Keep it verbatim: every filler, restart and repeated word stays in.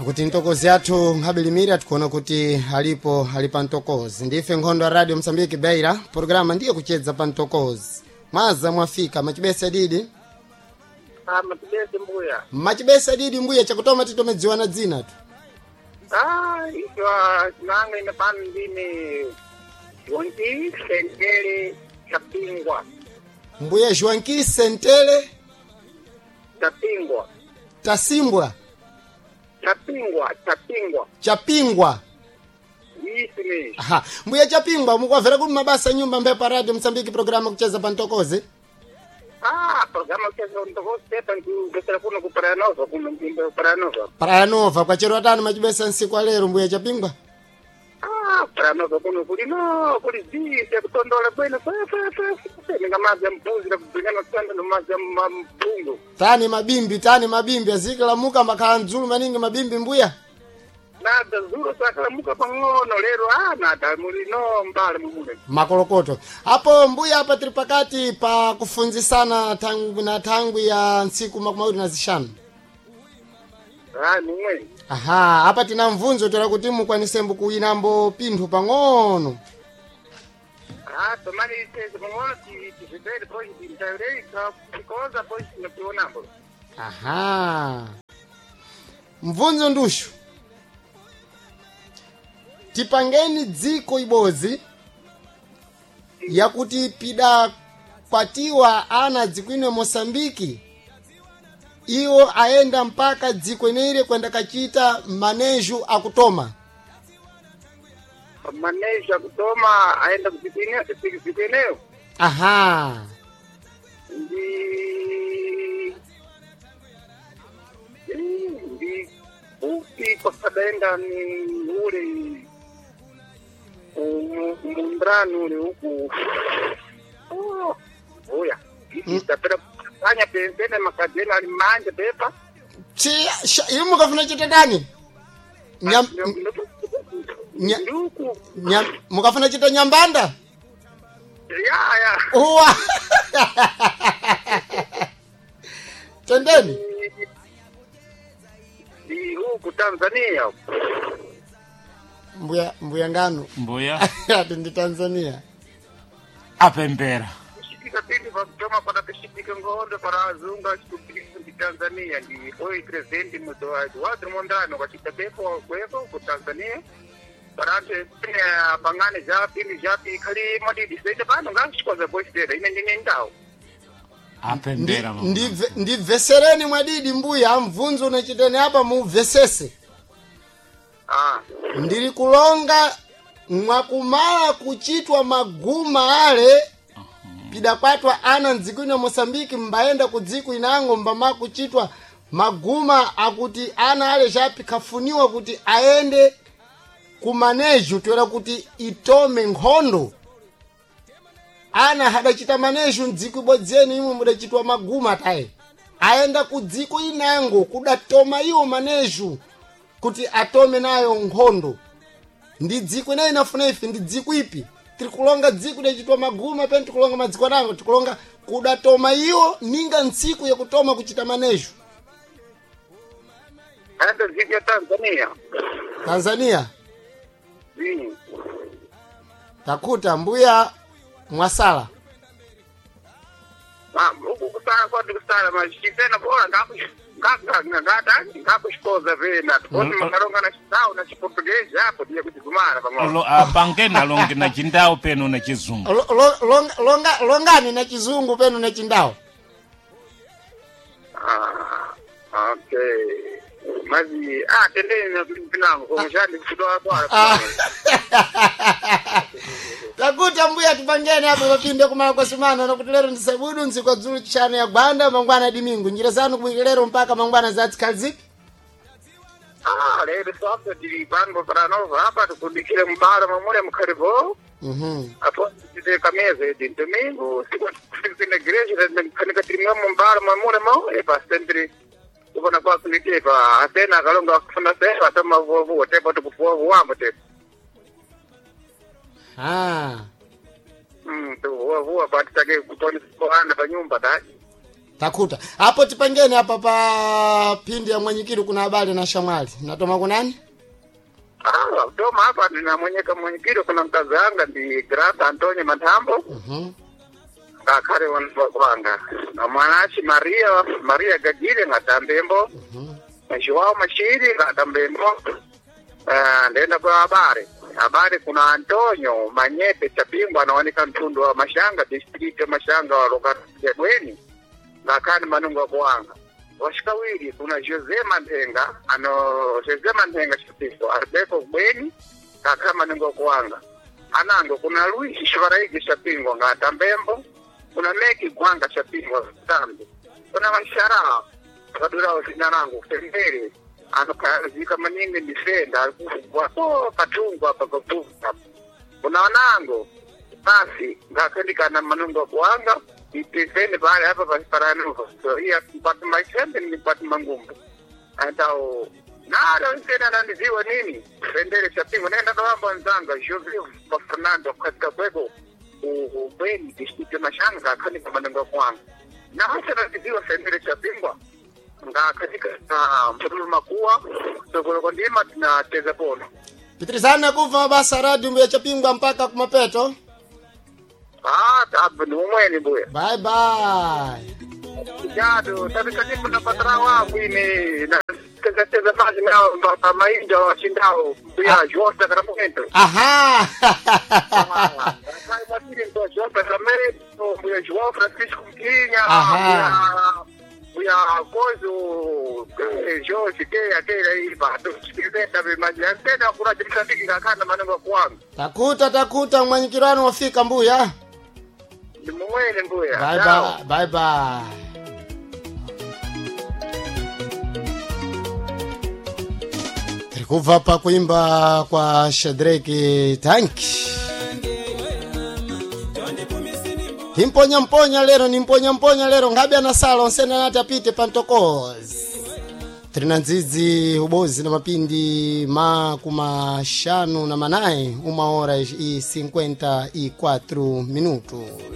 Kuti ntokozi athu nkhabelimira tikuona kuti alipo ali pa ntokozi. Ndife nkhondo ya Radio Msambiki Beira, programa ndiye kuchedza pa ntokozi. Mwaza mwafika machibesa didi. Ah, machibese mbuya. Machibesa didi mbuya chakutoma titomedziwana dzina tu. Ah, itwa nanga ine pano ndine Jonti Sentele Chapingwa. Mbuya Joanki Sentele Chapingwa. Tasimbwa Chapingwa, Chapingwa. Chapingwa. Isimi. Aha, mbuya Chapingwa mukwavera kuti mabasa nyumba mbepa Radio Msambiki programa kucheza pa ntokozi. Ah, programa kucheza ntokozi pepa ndikugesera kuno ku Praia Nova, kuno mjimbo Praia Nova. Praia Nova kwachero atano machibesa nsiku alero mbuya Chapingwa. Ah, Praia Nova kuno kuli no, kuli zise kutondola bwino fe fe fe fe ninga madzi ya mbuzi na kubringana tsanda no madzi ya mpungu. Tani mabimbi tani mabimbi azikilamuka makhala mdzulu maningi mabimbi mbuya. Nada zuro sakalamuka pang'ono lero ah nada muli no mbale mumune. Makolokoto apo mbuya apa tiri pakati pa kufunzisana tangu na tangu ya ntsiku makumi awiri na zixanu. Ah, mumwe. Aha, apa tina mvunzo tola kuti mukwanisembo kuinambo pinthu pang'ono. Ah, tomani ise pang'ono ti tizipere pochi tintaurei tikoza pochi tinotionambo. Aha, mvunzo ndushu, tipangeni dziko ibodzi yakuti pidakwatiwa ana dzikwino Mosambiki iwo aenda mpaka dziko ineire kwenda kachita maneju akutoma. Maneja kutoma aenda kuzikwine zikwineyo Aha, ndi ndi upi kwasadaenda ni ule mundrani ule uku Oh, uya tapera anya pempene makadena ali manje pepa chi sha- iwe mukafuna chita tani Nyam, nya- nduku nyam, mukafuna chita nyambanda ya ya uwa tendeni ndi huku Tanzania mbuya mbuya ngano Mbuya ati ndi Tanzania. apembera. kushitika pindi pakutoma pana kushitika ngondo para azungu achikupikisa ndi Tanzania ndi oi president muzowaji wati mondrano kwachita pepo kweko ku Tanzania para anthu ene pangane ja pindi japi ikhali madidi sete pano ngachikoza boisera ine ndine ndawo Apembera mama. Ndibve- ndibvesereni mwadidi mbuya mvunzo unachiteni apa mubvesese. ah Ndili kulonga mwakumala kuchitwa maguma ale pidakwatwa ana mdziko ino Mosambiki mbayenda ku dziko inango mbama kuchitwa maguma akuti ana ale chapi kafuniwa kuti aende kumaneju toera kuti itome nkhondo. Ana hadachita maneju mdziko ibodzeni imwe mudachitwa maguma taye aenda ku dziko inango kudatoma iwo maneju kuti atome nayo nkhondo. Ndi dziko inayi inafuna ife ndi dziko ipi tiri kulonga dziko idachitwa maguma pene tikulonga madziko anango tikulonga kudatoma iwo ninga ntsiku yakutoma kuchita maneju. aenda dziko ya Tanzania Tanzania Mm. takuta mbuya mwasala. Ah, huku kusala kwati kusala machitena bora ngaku ngakuxikoza vena tikoti makalonga na xitau na xiportuguese apo tiye kutigumana pang'ono Lo- ah, Pangeni alonge na chindau peno na chizungu. Lo- lo- longa, longa, longani na chizungu peno na chindau. Ah, okay mazi ah tendeni na pinango komushandi kutoa bora Ah. Takuta mbuya tupangeni apo mapinde kumala kwa sumana nakuti lero ndi sabudu ntsiku ya dzulu chishanu ya gwanda mangwana dimingu njira zanu kubwika lero mpaka mangwana zatsikhala zipi. Ah, lero sasa tili pano paranova apa tikudikire mbala mamule mukhalipo Mhm. apo tite kameza idi domingo siku tine igreja kanika tirimamo mbala mamule mo epa sempre kupona kwako nitepa atena akalonga kufuna sefa atama vuwavuwa tepa tikuvuwavuwambo tepa Ah. Mm, tuvuwavuwa patitake kutonisa ana pa nyumba ta Takuta apo tipangeni apa pa pindi ya mwenyikiri kuna habari na shamwali natoma kunani. Ah, toma hapa ninamwenyeka mwenyekiro kuna mkazi anga ndi Grata Antonio Matambo Mhm. ngakhale wanga na mwanachi Maria Maria Gagile ngatambembo na Joao Mashiri ngatambembo. Ah, ndenda kwa habari habari kuna Antonio Manyepe Chapingwa anaoneka mtundu wa Mashanga district ya Mashanga wa lokati ya Bweni ngakhani manungo akuwanga washikawiri kuna Jose Mantenga ano Jose Mantenga Chapingwa alibeko Bweni ngakhani manungo akuwanga anango kuna Luis Shivaraigi Chapingwa ngatambembo kuna Meki Gwanga Chapingwa tambi kuna Mashara akadura zina langu tembere anokazika maningi ndifenda alikufugwa so patungwa apa patunga kuna wanango basi ngakendikana manungo kuanga ipeseni pale apa pasiparano so iya kwatu maisembe ni kwatu mangumbu antao nalo nsena nandiziwa nini fendere chapingo nenda kawamba nzanga Jose pa Fernando katika kweko ubweni district ya Mashanga kanika manungo kuanga na hasa nandiziwa fendere chapingwa nga katika na mtulu makuwa sokolo ndima tunacheza polo. Pitirizana kuva mabasa radio mbuya Chapingwa mpaka kumapeto. Ah, tabu ni umweni buya Bye bye. jado tabikatibu na patra wangu ine na cheza cheza maji na pa mainda washindao buya João Sacramento. Aha. Kai matiri ndo João Sacramento buya João Francisco Mkinha Aha. buya kozo eh, Jorge keya keya iba tusikizeta bimaji tena kuna jimsafiki kakana manengo kwangu Takuta takuta mwenyikirano wafika mbuya. ni mumwene mbuya. Bye Ciao. bye. Bye bye. Tiri kubva pakuimba kwa Shadrack Tanki. Timponya mponya lero nimponya mponya lero ngabe anasala onsene anati apite pantokozi. Trina ndzidzi ubozi na mapindi makumashanu na manae uma hora e cinquenta e quatro minutos.